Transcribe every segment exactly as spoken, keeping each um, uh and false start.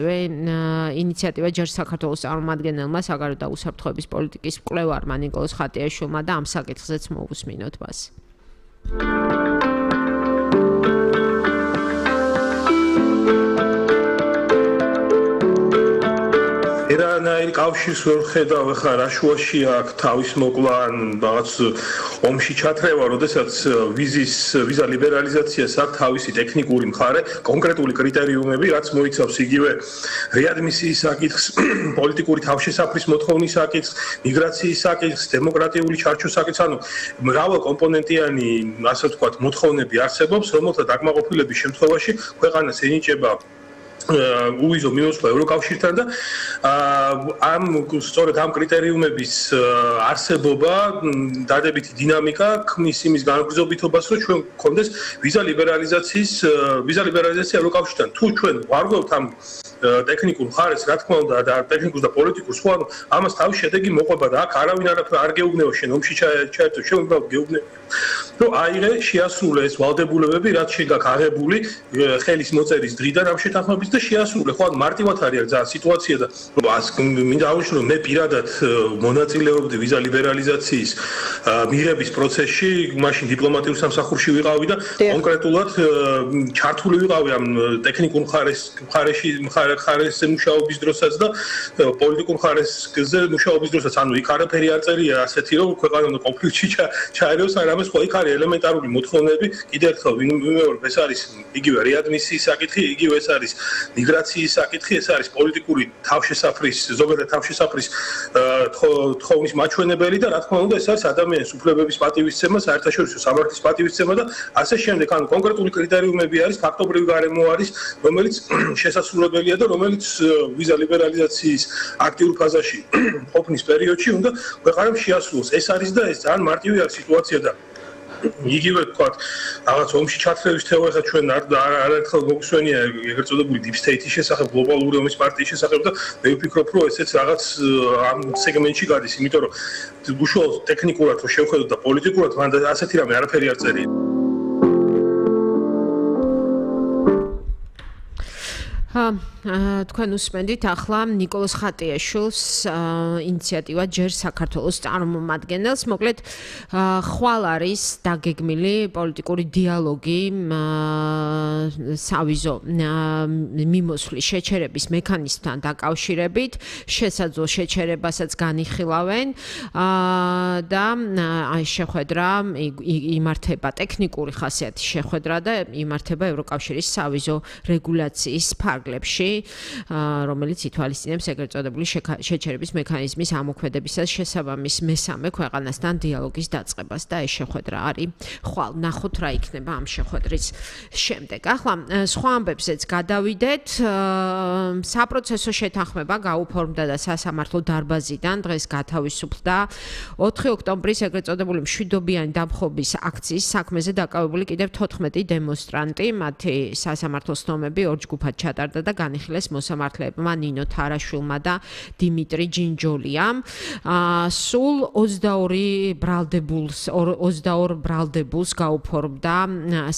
ინიციატივა ჯერ საქართველოს წარმომადგენელმა საგარეო და უსაფრთხოების პოლიტიკის მკვლევარმა ნიკოლოზ ხატიაშვილმა და ამ საკითხზეც მოვუსმინოთ მას. ერანაირ კავშირს ვერ ხედავ ახლა რა შუაში აქვს თავის მოკლა ან რაღაც ომში ჩათრევა, როდესაც ვიზის ვიზა ლიბერალიზაციას აქვს თავისი ტექნიკური მხარე, კონკრეტული კრიტერიუმები, რაც მოიცავს იგივე რეადმისიის საკითხს, პოლიტიკური თავშესაფრის მოთხოვნის საკითხს, მიგრაციის საკითხს, დემოკრატიული ჩარჩოს საკითხს, ანუ მრავალკომპონენტიანი, ასე ვთქვათ, მოთხოვნები არსებობს, რომელთა დაკმაყოფილების შემთხვევაში ქვეყანას ენიჭება უვიზო მინუსვა ევროკავშირთან და ამ სწორედ ამ კრიტერიუმების არსებობა დადებითი დინამიკა ქმნის იმის განგრძობითობას, რომ ჩვენ გქონდეს ვიზა ლიბერალიზაციის ვიზა ლიბერალიზაცია ევროკავშირთან. თუ ჩვენ ვარღვევთ ამ ტექნიკურ მხარეს, რა თქმა უნდა, და ტექნიკურს და პოლიტიკურს, ხო, ანუ ამას თავის შედეგი მოყვება და აქ არავინ არ გეუბნება შენ ომში ჩაერთო, შენ უბრალოდ გეუბნები, რომ აიღე შეასრულე ეს ვალდებულებები, რაც შენ გაქვს აღებული ხელის მოწერის დღიდან ამ შეთანხმების და შეასრულე, ხო, ანუ მარტივად არის ძალიან სიტუაცია და მინდა აღვნიშნო, რომ მე პირადად მონაწილეობდი ვიზა ლიბერალიზაციის მიღების პროცესში, მაშინ დიპლომატიურ სამსახურში ვიყავი და კონკრეტულად ჩართული ვიყავი ამ ტექნიკურ მხარეს მხარეში მხარეს მუშაობის დროსაც და პოლიტიკურ მხარესზე მუშაობის დროსაც, ანუ იქ არაფერი არ წერია ასეთი, რომ ქვეყანა უნდა კონფლიქტში ჩაერევოს, არამედ ხო იქ არის ელემენტარული მოთხოვნები, კიდევ ერთხელ ვიმეორებ, ეს არის იგივე რეადმისიის საკითხი, იგივე ეს არის მიგრაციის საკითხი, ეს არის პოლიტიკური თავშესაფრის, ზოგადად თავშესაფრის თხოვნის მაჩვენებელი და რა თქმა უნდა, ეს არის ადამიანის უფლებების პატივისცემა, საერთაშორისო სამართლის პატივისცემა და ასე შემდეგ, ანუ კონკრეტული კრიტერიუმები არის, ფაქტობრივი გარემო არის, რომელიც შესაძლებელია და რომელიც ვიზა ლიბერალიზაციის აქტიურ ფაზაში ყოფნის პერიოდში უნდა ქვეყანამ შეასრულოს. ეს არის და ეს ძალიან მარტივი არის სიტუაცია და იგივე თქვათ, რაღაც ომში ჩათრევის თეორია ხა ჩვენ არაერთხელ მოგვსვენია ეგრეთ წოდებული deep state-ის შესახებ, გლობალური ომის პარტიის შესახებ და მე ვფიქრობ, რომ ესეც რაღაც ამ სეგმენტში გადის, იმიტომ რომ უშუალოდ ტექნიკურად რო შევხედოთ და პოლიტიკურად მან ასეთი რამე არაფერი არ წერია. თქვენ უსმენთ ახლა ნიკოლოზ ხატიაშვილს ინიციატივა ჯერ საქართველოს წარმომადგენელს, მოკლედ ხვალ არის დაგეგმილი პოლიტიკური დიალოგი სავიზო მიმოსვლის შეჩერების მექანიზმთან დაკავშირებით, შესაძლო შეჩერებასაც განიხილავენ და აი შეხვედრა იმართება ტექნიკური ხასიათის შეხვედრა და იმართება ევროკავშირის სავიზო რეგულაციის ფარგლებში, რომელიც ითვალისწინებს ეგრეთ წოდებული შეჩერების მექანიზმის ამოქმედებისას შესაბამის მესამე ქვეყანასთან დიალოგის დაწყებას და ეს შეხვედრა არის ხვალ. ნახოთ რა იქნება ამ შეხვედრის შემდეგ. ახლა სხვა ამბებზეც გადავიდეთ. საპროცესო შეთანხმება გაუფორმდა და სასამართლო დარბაზიდან დღეს გათავისუფლდა ოთხი ოქტომბრის ეგრეთ წოდებული მშვიდობიანი დამხობის აქციის საქმეზე დაკავებული კიდევ თოთხმეტი დემონსტრანტი, მათი სასამართლო ცნომები ორ ჯგუფად ჩატარდა და განიხილეს მოსამართლეებმა ნინო თარაშვილმა და დიმიტრი ჯინჯოლიამ. სულ ოცდაორი ბრალდებულს ოცდაორ ბრალდებულს გაუფორმდა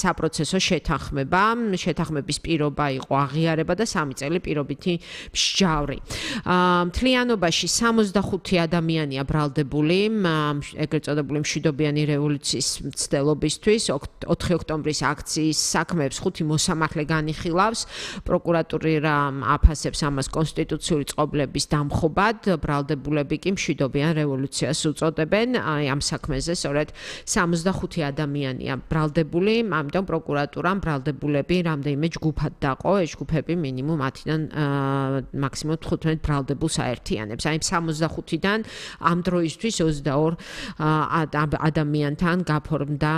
საპროცესო შეთანხმება. შეთანხმების პირობა იყო აღიარება და სამი წელი პირობითი მსჯავრი. მთლიანობაში სამოცდახუთი ადამიანია ბრალდებული ეგრეთ წოდებული მშვიდობიანი რევოლუციის მცდელობისთვის. ოთხი ოქტომბრის აქციის საქმეებს ხუთი მოსამართლე განიხილავს. პროკურატურა აფასებს ამას კონსტიტუციური წყობლების დამხობად, ბრალდებულები კი მშვიდობიან რევოლუციას უწოდებენ. აი ამ საქმეზე სწორედ სამოცდახუთი ადამიანია ბრალდებული, ამიტომ პროკურატურამ ბრალდებულები რამდენიმე ჯგუფად დაყო, ეს ჯგუფები მინიმუმ ათიდან მაქსიმუმ თხუთმეტ ბრალდებულს აერთიანებს. აი სამოცდახუთიდან ამ დროისთვის ოცდაორ ადამიანთან გაფორმდა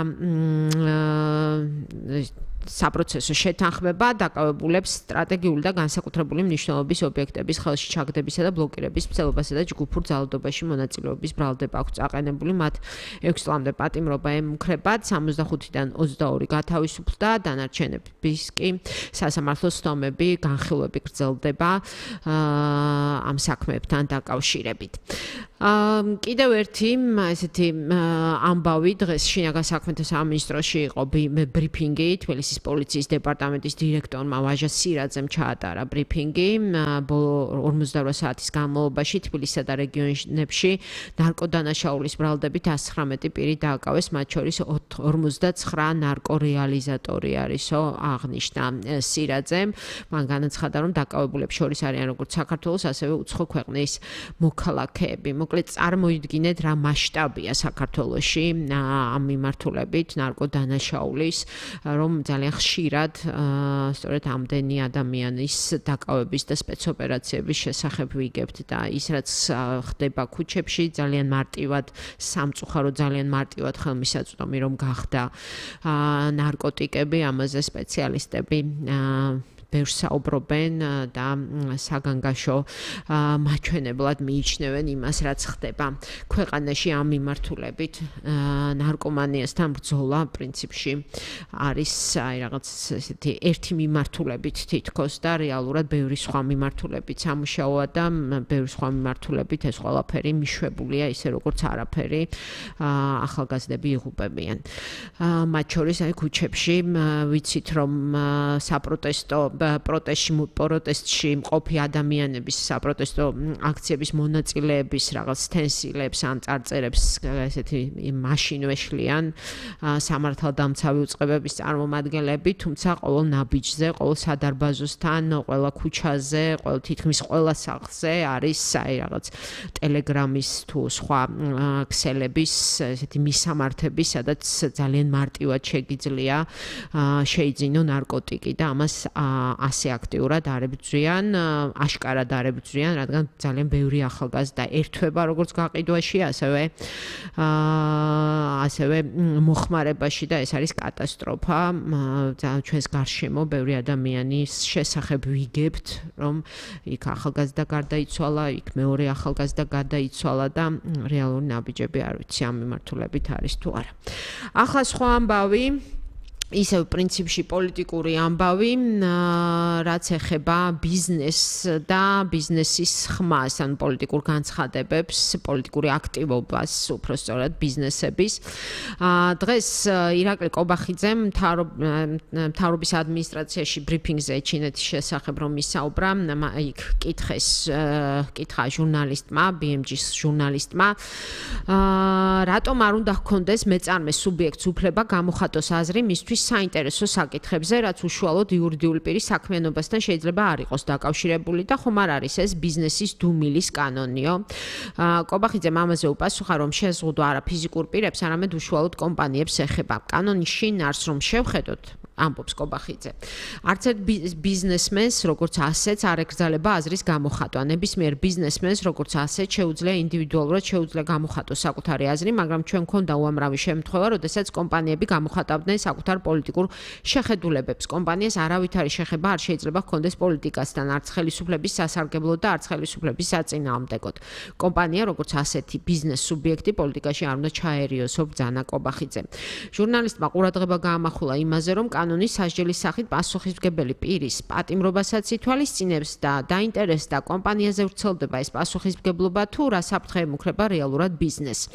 საპროცესო შეთანხმება დაკავებულებს სტრატეგიული და განსაკუთრებული მნიშვნელობის ობიექტების ხელში ჩაგდებისა და ბლოკირების მცდელობასა და ჯგუფურ ძალადობაში მონაწილეობის ბრალდება აქვს აყენებული. მათ ექვსი წლამდე პატიმრობა ემუქრებათ. სამოცდახუთიდან ოცდაორი გათავისუფლდა, დანარჩენების კი სასამართლოს ცნომები, განხილვები გრძელდება ამ საქმეებთან დაკავშირებით. კიდევ ერთი ესეთი ამბავი დღეს შინაგან საქმეთა სამინისტროში იყო ბრიფინგი თბილისის ხასის პოლიციის დეპარტამენტის დირექტორმა ვაჟა სირაძემ ჩაატარა ბრიფინგი ბოლო ორმოცდაორ საათის განმავლობაში თბილისსა და რეგიონებში ნარკოდანაშაულის ბრალდებით ათს ცხრამეტი პირი დააკავეს, მათ შორის ორმოცდაცხრა ნარკორეალიზატორი არისო, აღნიშნა სირაძემ. მან განაცხადა, რომ დაკავებულებს შორის არიან როგორც საქართველოს, ასევე უცხო ქვეყნის მოქალაქეები. მოკლედ წარმოიდგინეთ, რა მასშტაბია საქართველოში ამ მიმართულებით ნარკოდანაშაულის, რომ ძალიან ხშირად სწორედ ამდენი ადამიანის დაკავების და სპეცოპერაციების შესახებ ვიგებთ და ის რაც ხდება ქუჩებში ძალიან მარტივად სამწუხარო ძალიან მარტივად ხელმისაწვდომი რომ გახდა ნარკოტიკები, ამაზე სპეციალისტები ბევრს საუბრობენ და საგანგაშო მაჩვენებლად მიიჩნევენ იმას, რაც ხდება ქვეყანაში ამ მიმართულებით. ნარკომანიასთან ბრძოლა პრინციპში არის აი რაღაც ესეთი ერთი მიმართულებით თითქოს და რეალურად ბევრი სხვა მიმართულებით სამუშაოა და ბევრი სხვა მიმართულებით ეს ყველაფერი მიშვებულია ისე როგორც არაფერი ახალგაზრდები იღუპებიან. მათ შორის აი ქუჩებში ვიცით რომ საპროტესტო პროტესტში პროტესტში მყოფი ადამიანების საპროტესტო აქციების მონაწილეების რაღაც სტენსილებს ან წარწერებს ესეთი მაშინვეშლიან სამართალდამცავი უწყებების წარმომადგენლები, თუმცა ყოველ ნაბიჯზე, ყოველ სადარბაზოსთან, ყველა ქუჩაზე, ყოველ თითქმის ყველა სახლზე არის აი რაღაც ტელეგრამის თუ სხვა ქსელების ესეთი მისამართები, სადაც ძალიან მარტივად შეგიძლია შეიძინო ნარკოტიკი და ამას ასე აქტიურად არებრძვიან, აშკარად არებრძვიან, რადგან ძალიან ბევრი ახალგაზრდა ერთვება როგორც გაყიდვაში, ასევე ასევე მოხმარებაში და ეს არის კატასტროფა. ჩვენს გარშემო ბევრი ადამიანის შესახებ ვიგებთ, რომ იქ ახალგაზრდა გარდაიცვალა, იქ მეორე ახალგაზრდა გარდაიცვალა და რეალური ნაბიჯები არ ვიცი ამ მიმართულებით არის თუ არა. ახლა სხვა ამბავი ისევ პრინციპში პოლიტიკური ამბავი, რაც ეხება ბიზნესს და ბიზნესის ხმას, ან პოლიტიკურ განცხადებებს, პოლიტიკური აქტივობას, უფრო სწორად ბიზნესების. დღეს ირაკლი კობახიძემ მთავრობის ადმინისტრაციაში ბრიფინგზე ჩინეთის შესახებ რომ ისაუბრა, იქ კითხეს, კითხა ჟურნალისტმა, ბი ემ ჯის ჟურნალისტმა, რატომ არ უნდა ჰქონდეს მეწარმე სუბიექტს უფლება გამოხატოს აზრი მისთვის საინტერესო საკითხებზე, რაც უშუალოდ იურიდიული პირის საქმიანობასთან შეიძლება არ იყოს დაკავშირებული და ხომ არ არის ეს ბიზნესის დუმილის კანონიო. კობახიძემ ამაზე უპასუხა, რომ შეზღუდვა არა ფიზიკურ პირებს, არამედ უშუალოდ კომპანიებს ეხება. კანონის შინ არს რომ შევხედოთ, ამბობს კობახიძე. არც ერთ ბიზნესმენს, როგორც ასეც, არ ეკრძალება აზრის გამოხატვა. ნებისმიერ ბიზნესმენს, როგორც ასეც, შეუძლია ინდივიდუალურად შეუძლია გამოხატოს საკუთარი აზრი, მაგრამ ჩვენ გვქონდა უამრავი შემთხვევა, როდესაც კომპანიები გამოხატავდნენ საკუთარ პოლიტიკურ შეხედულებებს. კომპანიას არავითარი შეხება არ შეიძლება ჰქონდეს პოლიტიკასთან, არც ხელისუფლების სასარგებლოდ და არც ხელისუფლების საწინააღმდეგოდ. კომპანია, როგორც ასეთი ბიზნეს სუბიექტი, პოლიტიკაში არ უნდა ჩაერიოსო, ბრძანა კობახიძე. ჟურნალისტმა ყურადღება გაამახვილა იმაზე, რომ კანონის სასჯელის სახით პასუხისმგებელი პირის პატიმრობასაც ითვალისწინებს და დაინტერესდა კომპანიაზე ვრცელდება ეს პასუხისმგებლობა თუ რა საფრთხე ემუქრება რეალურად ბიზნესს.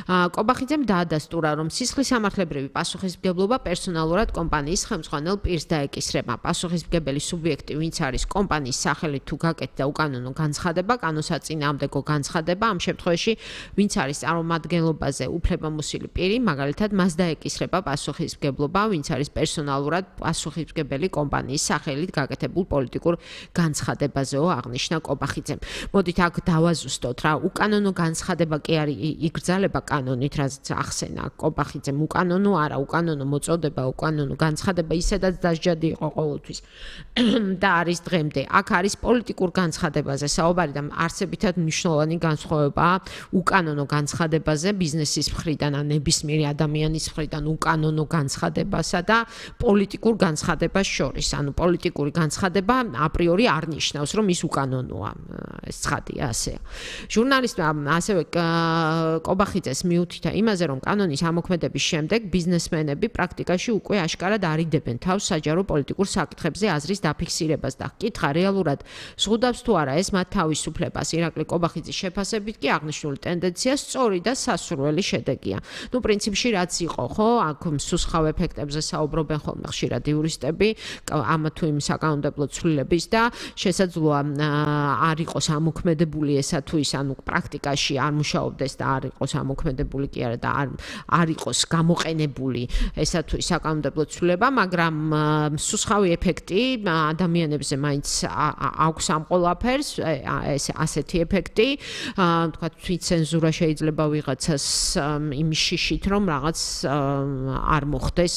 კობახიძემ დაადასტურა, რომ სისხლისამართლებრივი პასუხისმგებლობა პერსონალურად კომპანიის ხელმძღვანელ პირს დაეკისრება. პასუხისმგებელი სუბიექტი, ვინც არის კომპანიის სახელით თუ გაკეთდა უკანონო განცხადება, კანონსაწინააღმდეგო განცხადება, ამ შემთხვევაში ვინც არის წარმომადგენლობაზე უფლებამოსილი პირი, მაგალითად მას დაეკისრება პასუხისმგებლობა, ვინც არის პერსონალურად პასუხისმგებელი კომპანიის სახელით გაკეთებულ პოლიტიკურ განცხადებაზეო, აღნიშნა კობახიძემ. მოდით აქ დავაზუსტოთ რა, უკანონო განცხადება კი არის იგრძალება კანონით, რაც ახსენა კობახიძემ, უკანონო არა, უკანონო მოწოდება, უკანონო განცხადება ისედაც დასჯადი იყო ყოველთვის და არის დღემდე. აქ არის პოლიტიკურ განცხადებაზე საუბარი და არსებითად მნიშვნელოვანი განსხვავებაა უკანონო განცხადებაზე ბიზნესის მხრიდან ან ნებისმიერი ადამიანის მხრიდან უკანონო განცხადებასა და პოლიტიკურ განცხადებას შორის. ანუ პოლიტიკური განცხადება აპრიორი არ ნიშნავს, რომ ის უკანონოა. ეს ცხადია ასეა. ჟურნალისტმა ასევე კობახიძეს მიუთითა იმაზე, რომ კანონის ამოქმედების შემდეგ ბიზნესმენები პრაქტიკაში უკვე აშკარად არიდებენ თავს საჯარო პოლიტიკურ საკითხებზე აზრის დაფიქსირებას და კითხა რეალურად ზღუდავს თუ არა ეს მათ თავისუფლებას. ირაკლი კობახიძის შეფასებით კი აღნიშნული ტენდენცია სწორი და სასურველი შედეგია. ნუ პრინციპში რაც იყო, ხო, აქ მსუსხავ ეფექტებზე საუბრობენ ხოლმე ხოლმე ხშირად იურისტები ამა თუ იმ საკანონმდებლო ცვლილების და შესაძლოა არ იყოს ამოქმედებული ესა თუ ის ანუ პრაქტიკაში არ მუშაობდეს და არ იყოს ამოქმედებული კი არა და არ არ იყოს გამოყენებული ესა თუ ის საკანონმდებლო ცვლილება, მაგრამ მსუსხავი ეფექტი ადამიანებზე მაინც აქვს ამ ყველაფერს, ეს ასეთი ეფექტი, თქვა თვითცენზურა შეიძლება ვიღაცას იმის შიშით რომ რაღაც არ მოხდეს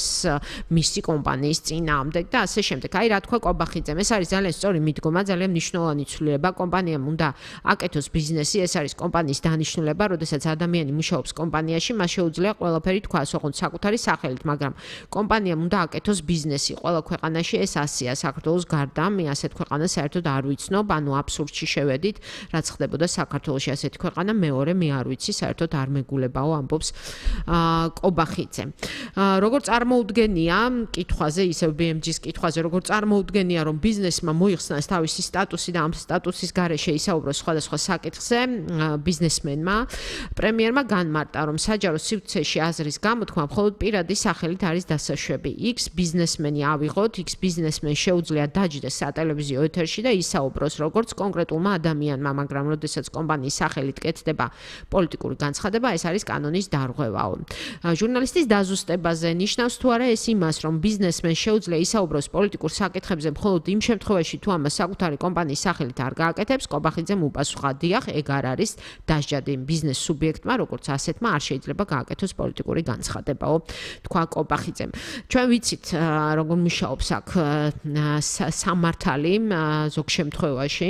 მისი კომპანიის წინააღმდეგ და ასე შემდეგ. აი რა თქვა კობახიძემ, ეს არის ძალიან სწორი მიდგომა, ძალიან მნიშვნელოვანი ცვლილება. კომპანიამ უნდა აკეთოს ბიზნესი, ეს არის კომპანიის დანიშნულება, როდესაც ადამიანი მუშაობს კომპანიაში, მას შეუძლია ყველაფერი თქვას, ოღონდ საკუთარი სახელით, მაგრამ კომპანიამ უნდა აკეთოს ბიზნესი. ყველა ქვეყანაში ეს ასეა, საქართველოს გარდა, მე ასეთ ქვეყანას საერთოდ არ ვიცნობ, ანუ აბსურდში შევედით, რაც ხდებოდა საქართველოში ასეთი ქვეყანა, მეორე მე არ ვიცი, საერთოდ არ მეგულებაო, ამბობს კობახიძე. როგორ წარმოუდგენია კითხვაზე, ისევ ბი ემ ჯის კითხვაზე, როგორ წარმოუდგენია, რომ ბიზნესმა მოიხსნას თავისი სტატუსი და ამ სტატუსის გარეშე ისაუბროს სხვადასხვა საკითხზე, ბიზნესმენმა, პრემიერმა განმარტა, რომ საჯარო სივრცეში აზრის გამოთქმა მხოლოდ პირადი სახელით არის დასაშვები. X ბიზნესმენი ავიღოთ, X ბიზნესმენ შეუძლია დაჯდეს სატელევიზიო ეთერში და ისაუბროს როგორც კონკრეტულმა ადამიანმა, მაგრამ როდესაც კომპანიის სახელით კეთდება პოლიტიკური განცხადება, ეს არის კანონის დარღვევაო. ჟურნალისტის დაზუსტებაზე ნიშნავს თუ არა ეს იმას, რომ ბიზნესმენ შეუძლია ისაუბროს პოლიტიკურ საკითხებზე მხოლოდ იმ შემთხვევაში, თუ ამას საკუთარი კომპანიის სახელით არ გააკეთებს, კობახიძემ უპასუხა, დიახ, ეგ არ არის დასჯადი ბიზნეს სუბიექტმა, როგორც ასეთმა არ შეიძლება გააკეთოს პოლიტიკური განცხადებაო, თქვა კობახიძემ. ჩვენ ვიცით, როგორ მუშაობს აქ სამართალი ზოგ შემთხვევაში.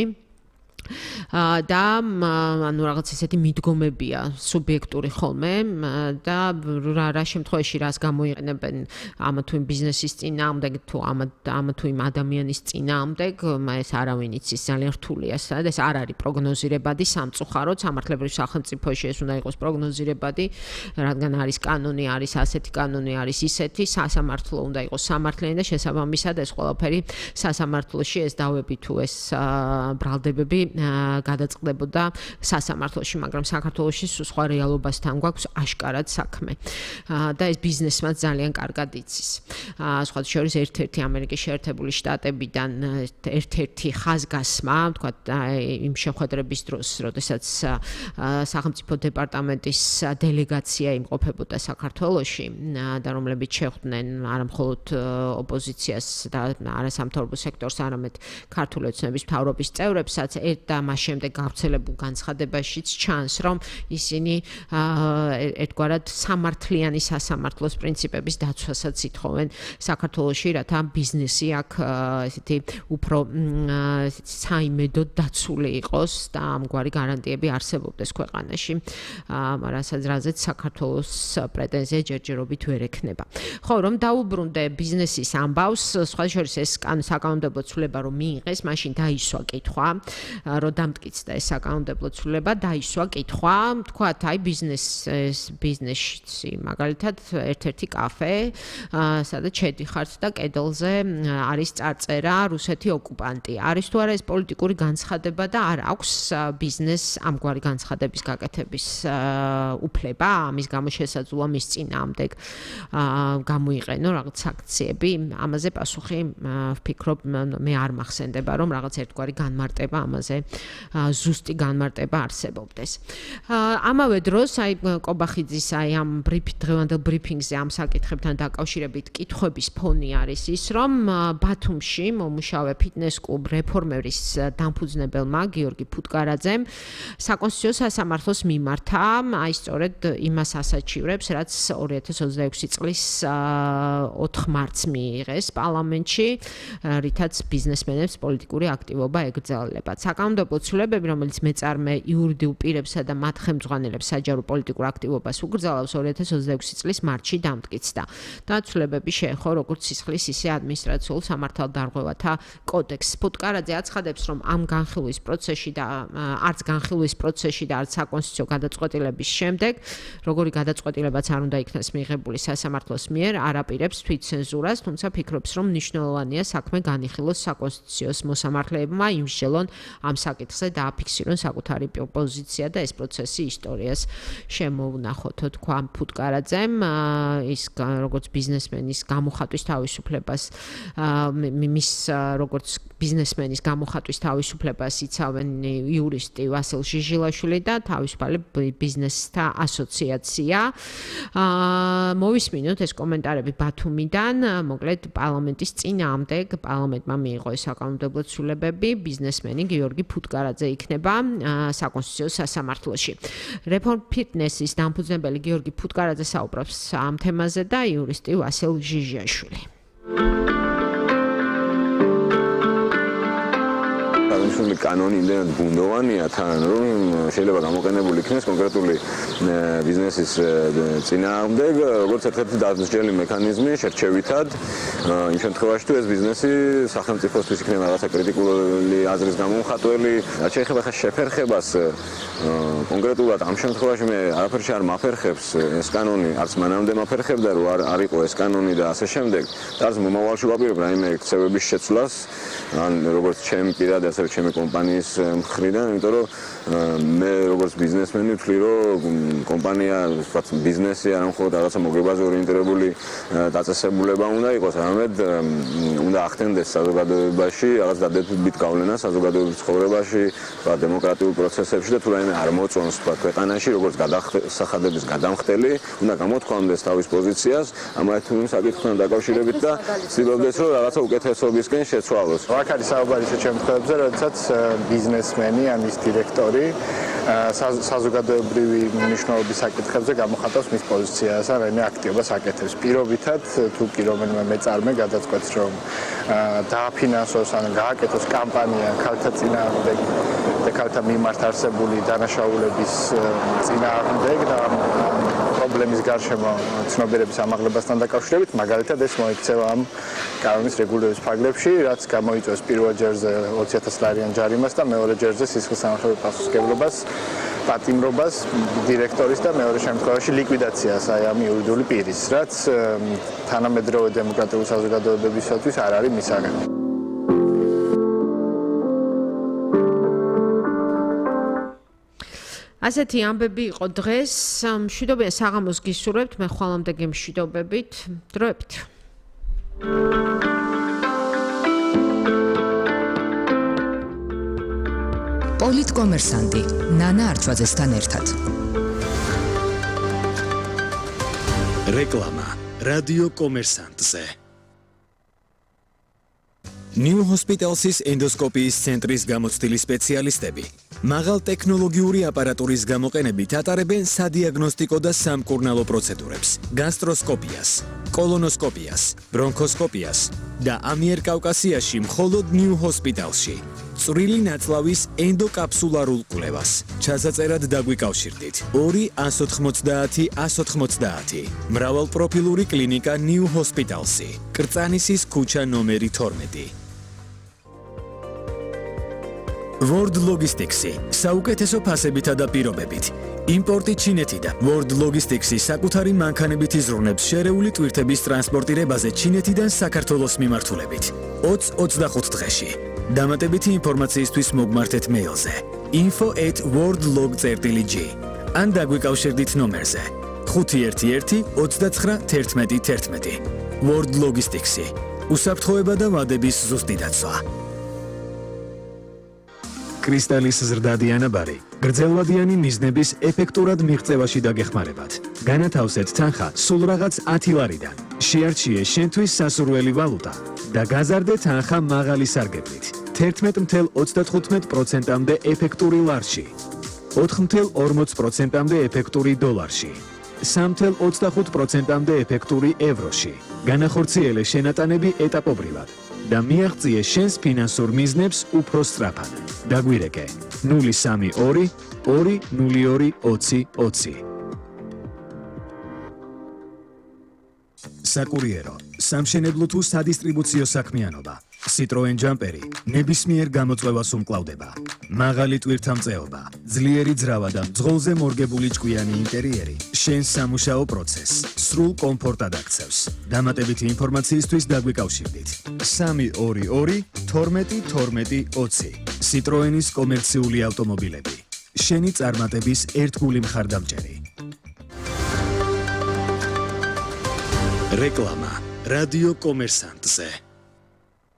და ანუ რაღაც ესეთი მიდგომებია სუბიექტური ხოლმე და რა შემთხვევაში რას გამოიყენებენ ამა თუ იმ ბიზნესის წინააღმდეგ თუ ამა თუ იმ ადამიანის წინააღმდეგ, ეს არავინ იცის, ძალიან რთულია და ეს არ არის პროგნოზირებადი სამწუხაროდ, სამართლებრივ სახელმწიფოში ეს უნდა იყოს პროგნოზირებადი, რადგან არის კანონი, არის ასეთი კანონი, არის ისეთი, სასამართლო უნდა იყოს სამართლიანი და შესაბამისად ეს ყველაფერი სასამართლოში ეს დავები თუ ეს ბრალდებები გადაწყდებოდა სასამართლოში, მაგრამ საქართველოში სხვა რეალობასთან გვაქვს აშკარად საქმე. და ეს ბიზნესმაც ძალიან კარგად იცის. სხვა შორის ერთ-ერთი ამერიკის შეერთებული შტატებიდან ერთ-ერთი ხაზგასმა, თქვა იმ შეხვედრების დროს, როდესაც სახელმწიფო დეპარტამენტის დელეგაცია იმყოფებოდა საქართველოში და რომლებიც შეხვდნენ არა მხოლოდ ოპოზიციას და არასამთავრობო სექტორს, არამედ ქართული ოცნების მთავრობის წევრებსაც და მას შემდეგ გავრცელებულ განცხადებაშიც ჩანს, რომ ისინი ერთგვარად სამართლიანი სასამართლოს პრინციპების დაცვასაც ითხოვენ საქართველოში, რათა ბიზნესი აქ ესეთი უფრო საიმედოდ დაცული იყოს და ამგვარი გარანტიები არსებობდეს ქვეყანაში, რასაც რაზეც საქართველოს პრეტენზია ჯერჯერობით ვერ ექნება. ხო, რომ დაუბრუნდე ბიზნესის ამბავს, სხვა შორის ეს საკანონმდებლო ცვლილება რომ მიიღეს, მაშინ დაისვა კითხვა, რომ დამტკიცდა ეს საკანონმდებლო ცვლილება, დაისვა კითხვა, თქვათ, აი ბიზნეს ბიზნესში, მაგალითად, ერთ-ერთი კაფე, სადაც შედიხართ და კედელზე არის წარწერა რუსეთი ოკუპანტი. არის თუ არა ეს პოლიტიკური განცხადება და არ აქვს ბიზნესს ამგვარი განცხადების გაკეთების უფლება, ამის გამო შესაძლოა მის წინააღმდეგ გამოიყენო რაღაც საქციები. ამაზე პასუხი ვფიქრობ, მე არ მახსენდება, რომ რაღაც ერთგვარი განმარტება ამაზე ზუსტი განმარტება არსებობდეს. ამავე დროს, აი კობახიძის აი ამ დღევანდელ ბრიფინგზე ამ საკითხებთან დაკავშირებით კითხვების ფონი არის ის, რომ ბათუმში მომუშავე ფიტნეს კლუბ რეფორმერის დამფუძნებელმა გიორგი ფუტკარაძემ საკონსტიტუციო სასამართლოს მიმართა, აი სწორედ იმას ასაჩივრებს, რაც ორი ათას ოცდაექვსი წლის ოთხ მარტს მიიღეს პარლამენტში, რითაც ბიზნესმენებს პოლიტიკური აქტივობა ეკრძალებათ. საკანონმდებლო ცვლილებები, რომელიც მეწარმე იურიდიულ პირებსა და მათ ხელმძღვანელებს საჯარო პოლიტიკურ აქტივობას უკრძალავს, ორი ათას ოცდაექვსი წლის მარტში დამტკიცდა. და ცვლილებები შეეხო როგორც სისხლის, ისე ადმინისტრაციულ სამართალდარღვევათა კოდექსს. ფუტკარაძე აცხადებს, რომ ამ განხილვის პროცესში და არც განხილვის პროცესში და არც საკონსტიტუციო გადაწყვეტილების შემდეგ, როგორი გადაწყვეტილებაც არ უნდა იქნას მიღებული სასამართლოს მიერ, არ აპირებს თვითცენზურას, თუმცა ფიქრობს, რომ მნიშვნელოვანია საქმე განიხილოს საკონსტიტუციოს მოსამართლეებმა იმსჯელონ ამ საკითხზე დააფიქსირონ საკუთარი პოზიცია და ეს პროცესი ისტორიას შემოუნახოთ, თქვა ფუტკარაძემ, ის როგორც ბიზნესმენის გამოხატვის თავისუფლებას, მის როგორც ბიზნესმენის გამოხატვის თავისუფლებას იცავენ იურისტი ვასილ ჟიჟილაშვილი და თავისუფალი ბიზნესთა ასოციაცია. მოვისმინოთ ეს კომენტარები ბათუმიდან, მოკლედ პარლამენტის წინააღმდეგ პარლამენტმა მიიღო საკანონმდებლო ცვლილებები, ბიზნესმენი გიორგი ფუტკარაძე იქნება საკონსტიტუციო სასამართლოში. Reform Fitness-ის დამფუძნებელი გიორგი ფუტკარაძე საუბრობს ამ თემაზე და იურისტი ვასილ ჟიჟიაშვილი. Tradițional canoni იმდენად ბუნდოვანია თან რომ შეიძლება გამოყენებული იქნეს კონკრეტული ბიზნესის წინააღმდეგ როგორც ერთ-ერთი დასჯელი მექანიზმი შერჩევითად იმ შემთხვევაში თუ ეს ბიზნესი სახელმწიფოსთვის იქნება რაღაცა კრიტიკული აზრის გამომხატველი რაც შეეხება ხა შეფერხებას კონკრეტულად ამ შემთხვევაში მე არაფერში არ მაფერხებს ეს კანონი არც მანამდე მაფერხებდა რომ არ არ იყო ეს კანონი და ასე შემდეგ და არც მომავალში ვაპირებ რაიმე ქცევების შეცვლას ან როგორც ჩემი პირადი ასევე ჩემი კომპანიის მხრიდან, იმიტომ რომ მე როგორც ბიზნესმენი ვთვლი, რომ კომპანია, ვთქვათ, ბიზნესი არ მხოლოდ რაღაცა მოგებაზე ორიენტირებული დაწესებულება უნდა იყოს, არამედ უნდა ახდენდეს საზოგადოებაში, რაღაც დადებითი გავლენა საზოგადოების ცხოვრებაში, ვთქვათ, დემოკრატიულ პროცესებში და თუ რაიმე არ მოწონს, ვთქვათ, ქვეყანაში, როგორც გადასახადების გადამხდელი, უნდა გამოთქვამდეს თავის პოზიციას ამ ერთ საკითხთან დაკავშირებით და ცდილობდეს, რომ რაღაცა უკეთესობისკენ შეცვალოს. აქ არის საუბარი ისეთ შემთხვევებზე, როდესაც ბიზნესმენი ან ის დირექტორი საზოგადოებრივი მნიშვნელობის საკითხებზე გამოხატავს მის პოზიციას ან რაიმე აქტივობას აკეთებს. პირობითად თუ კი რომელიმე მეწარმე გადაწყვეტს, რომ დააფინანსოს ან გააკეთოს კამპანია ქალთა წინააღმდეგ და ქალთა მიმართ არსებული დანაშაულების წინააღმდეგ და პრობლემის გარშემო ცნობიერების ამაღლებასთან დაკავშირებით, მაგალითად ეს მოიქცევა ამ კანონის რეგულირების ფარგლებში, რაც გამოიწვევს პირველ ჯერზე ოცი ათას ლარიან ჯარიმას და მეორე ჯერზე სისხლის სამართლებრივ პასუხისმგებლობას, პატიმრობას დირექტორის და მეორე შემთხვევაში ლიკვიდაციას აი ამ იურიდიული პირის, რაც თანამედროვე დემოკრატიული საზოგადოებებისათვის არ არის მისაღები. ასეთი ამბები იყო დღეს, მშვიდობიან საღამოს გისურვებთ, მე ხვალამდე მშვიდობებით, დროებით. პოლიტკომერსანტი ნანა არჩვაძესთან ერთად. რეკლამა რადიო კომერსანტზე. New Hospital's ენდოსკოპიის ცენტრის გამოცდილი სპეციალისტები მაღალ ტექნოლოგიური აპარატურის გამოყენებით ატარებენ სადიაგნოსტიკო და სამკურნალო პროცედურებს, გასტროსკოპიას, კოლონოსკოპიას, ბრონქოსკოპიას და ამიერკავკასიაში მხოლოდ New Hospital's-ში. წვრილი ნაწლავის ენდოკაფსულარულ კვლევას. ჩასაწერად დაგვიკავშირდით. ორი ათს ოცდაათი ათს ოცდაათი. მრავალპროფილური კლინიკა New Hospital's-ი. კრწანისის ქუჩა ნომერი თორმეტი. World Logistics-ი საუკეთესო ფასებითა და პირობებით. იმპორტი ჩინეთიდან. World Logistics-ი საკუთარი მანქანებით იზრუნებს შერეული ტვირთების ტრანსპორტირებაზე ჩინეთიდან საქართველოს მიმართულებით. ოცი ოცდახუთ დღეში. დამატებითი ინფორმაციისთვის მოგმართეთ მეილზე info at worldlog dot g ან დაგვიკავშირდით ნომერზე ხუთი ერთი ერთი ოცდაცხრა თერთმეტი თერთმეტი. World Logistics-ი უსაფრთხოება და ვადების ზუსტი დაცვა. კრისტალის ზრდადი ანაბარი გრძელვადიანი მიზნების ეფექტურად მიღწევაში დაგეხმარებათ. განათავსეთ თანხა სულ რაღაც ათი ლარიდან. შეარჩიე შენთვის სასურველი ვალუტა და გაზარდე თანხა მაღალი სარგებლით. თერთმეტი ათას ოცდათხუთმეტ პროცენტამდე ეფექტური ლარში. ოთხი ათას ორმოცი პროცენტამდე ეფექტური დოლარში. სამი ათას ოცდახუთ პროცენტამდე ეფექტური ევროში. განახორციელე შენატანები ეტაპობრივად და მიაღწიე შენს ფინანსურ მიზნებს უფრო სწრაფად. დაგვირეკე ნული სამი ორი ორი ნული ორი ოცი ოცი. საკურიერო, სამშენებლო თუ სადისტრიბუციო საქმიანობა. Citroen Jumperi ნებისმიერ გამოწვევას უმკლავდება. მაღალი ტვირთამწეობა, ძლიერი ძრავა და მძღოლზე მორგებული ჭკვიანი ინტერიერი შენს სამუშაო პროცესს სრულ კომფორტად აქცევს. დამატებითი ინფორმაციისთვის დაგვიკავშირდით. სამი ორი ორი თორმეტი თორმეტი ოცი Citroenis კომერციული ავტომობილები. შენი წარმატების ერთგული მხარდამჭერი. რეკლამა რადიო კომერსანტზე.